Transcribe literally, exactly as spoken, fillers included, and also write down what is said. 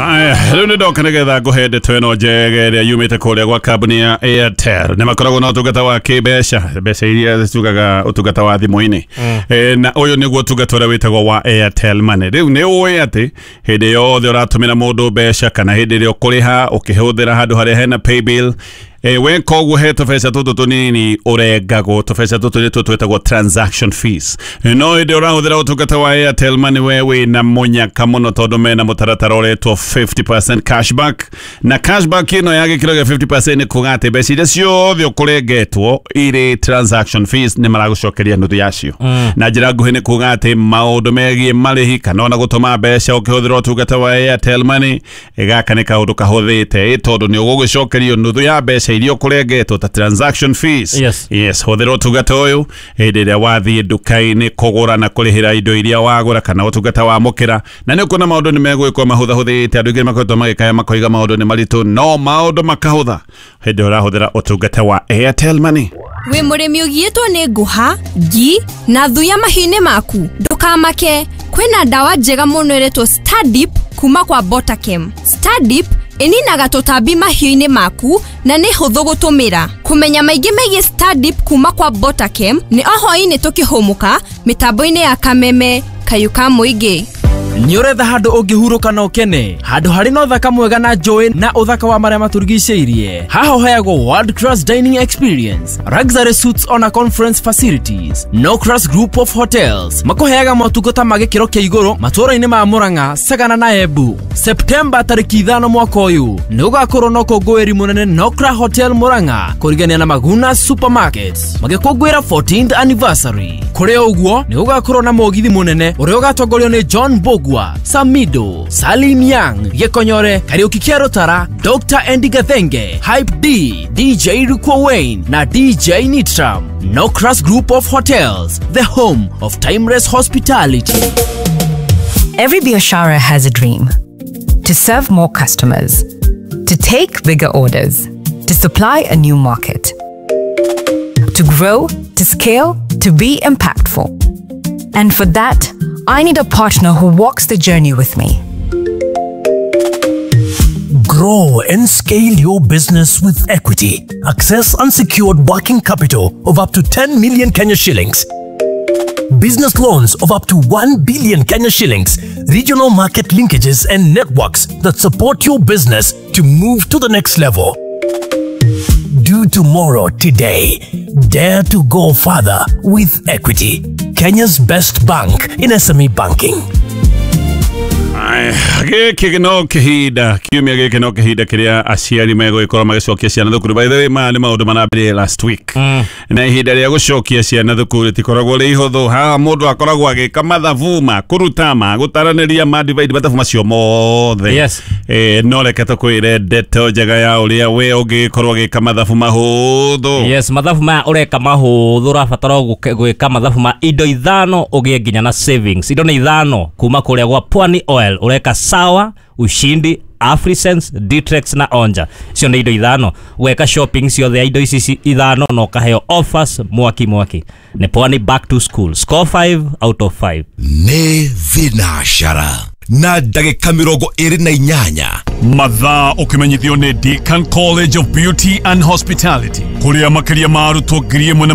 Haya, rĩu nĩ ndoka nĩgetha ngũhe ndeto ĩno njega ĩrĩa yumĩte kũrĩa gwa kambuni ya Airtel. Nĩ makoragwo na ũtungata wa kĩmbeca, mbeca iria tugaga ũtungata wa thimũ-inĩ. Eh, na ũyũ nĩguo ũtungata ũrĩa wĩtagwo wa Airtel Money. Rĩu nĩ ũĩ atĩ hĩndĩ yothe ũratũmĩra mũndũ mbeca kana hĩndĩ ĩrĩa ũkũrĩha ũkĩhũthĩra handũ harĩa hena paybill, Eh, weka ũguo he tũbeca tũtũ tũnini ũrengagwo. Tũbeca tũtũ nĩtuo twĩtagwo transaction fees. No hĩndĩ ũrahũthĩra ũtungata wa Airtel Money, we wĩna mũnyaka mũno tondũ mena mũtaratara ũretwo fifty percent cashback. Na cashback ĩno ya gĩkĩro gĩa fifty percent nĩ kuga atĩ mbeca iria ciothe ũkũrengetwo irĩ transaction fees nĩ maragũcokeria nuthu yacio. Na njĩra nguhĩ nĩ kuga atĩ maũndũ megiĩ marĩhi kana ona gũtũma mbeca ũkĩhũthĩra ũtungata wa Airtel Money, gaka nĩ kaũndũ kahũthĩte ĩ tondũ nĩ ũgũgĩcokerio nuthu ya mbeca iria ũkũrengetwo ta transaction fees. Yes. Yes, hũthĩra ũtungata ũyũ hĩndĩ ĩrĩa wathiĩ nduka-inĩ kũgũra na kũrĩhĩra indo iria wagũra kana ũtungata wa mũkĩra, na nĩ ũkuona maũndũ nĩ megũgĩkorwo mahũthahũthĩte. Andũ aingĩ makoretwo magĩkaya makoiga maũndũ nĩ maritũ, no maũndũ makahũtha hĩndĩ ĩrĩa ũrahũthĩra ũtungata wa Airtel Money. Wĩ mũrĩmi ũgiĩtwo nĩ ngũha, ngi na thuya mahiũ-inĩ maku, ndũkamake, kwĩna ndawa njega mũno ĩretwo Stadip kuma kwa Botakem. Stadip ĩninaga tũtambi mahiũ-inĩ maku na nĩ hũthũ gũtũmĩra. Kũmenya maingĩ megiĩ Stadip kuma kwa Botakem nĩ o hwaĩ-inĩ tũkĩhũmũka mĩtambo-inĩ ya Kameme kayũ ka mũingĩ. Nĩ ũretha handũ ũngĩhurũka na ũkene, handũ harĩ na ũthaka mwega na njũĩ na ũthaka wa marĩa matũrigicĩirie. Haha ũheagwo world class dining experience, luxury suites ona conference facilities. No Class Group of Hotels makũheaga motungata ma gĩkĩro kĩa igũrũ matũũra-inĩ ma Mũrang'a, Sagana na Embu. Septemba tarĩki ithano mwaka ũyũ nĩ gũgakorwo na ũkũngũĩri mũnene Nokra Hotel Mũrang'a kũrigania na Maguna Supermarket magĩkũngũĩra fourteenth anniversary. Kũrĩ ũguo nĩ gũgakorwo na mũgithi mũnene ũrĩa ũgatongorio nĩ John Mbugua, Samido, Salim Young, Gĩkonyore, Kariuki Kĩa Rũtara, Doctor Andy Gathenge, Hype D, D J Rukwa Wayne na D J Nitram. Nocras Group of Hotels, the home of timeless hospitality. Every Biashara has a dream to serve more customers, to take bigger orders, to supply a new market, to grow, to scale, to be impactful. And for that, I need a partner who walks the journey with me. Grow and scale your business with Equity. Access unsecured working capital of up to ten million Kenya shillings. Business loans of up to one billion Kenya shillings. Regional market linkages and networks that support your business to move to the next level. Do tomorrow today. Dare to go further with Equity. Kenya's best bank in S M E banking. Aya, gĩkĩ no kĩhinda kiumia gĩkĩ no kĩhinda kĩrĩa aciari megũgĩkorwo magĩcokia ciana thukuru. By the way, maya nĩ maũndũ marambĩrĩria last week, na ihinda rĩa gũcokia ciana thukuru rĩtikoragwo rĩ ihũthũ. Haha mũndũ akoragwo agĩka mathabu ma kũruta, ma gũtaranĩria, ma divide, mathabu macio mothe. Yes. Eh, no reke tũkwĩre ndeto njega ya ũrĩa we ũngĩkorwo ũgĩka mathabu mahũthũ. Yes, mathabu maya ũreka mahũthũ, ũrabatara o gũke- gwĩka mathabu ma indo ithano ũgĩe nginya na savings. Indo nĩ ithano kuma kũrĩa gwa Pwani Oil. Ũreka Sawa, Ushindi, Afrisense, Dtrex na Onja. Icio nĩ indo ithano. Weka shopping ciothe ya indo ici ci- ithano na ũkaheo offers mwaki mwaki nĩ Pwani. Back to school, score five out of five. Nĩ thinacara na ndagĩka mĩrongo ĩrĩ na inyanya. Mathaa ũkĩmenyithio nĩ Deakin College of Beauty and Hospitality, kũrĩa makĩria ma arutwo ngiri ĩmwe na magana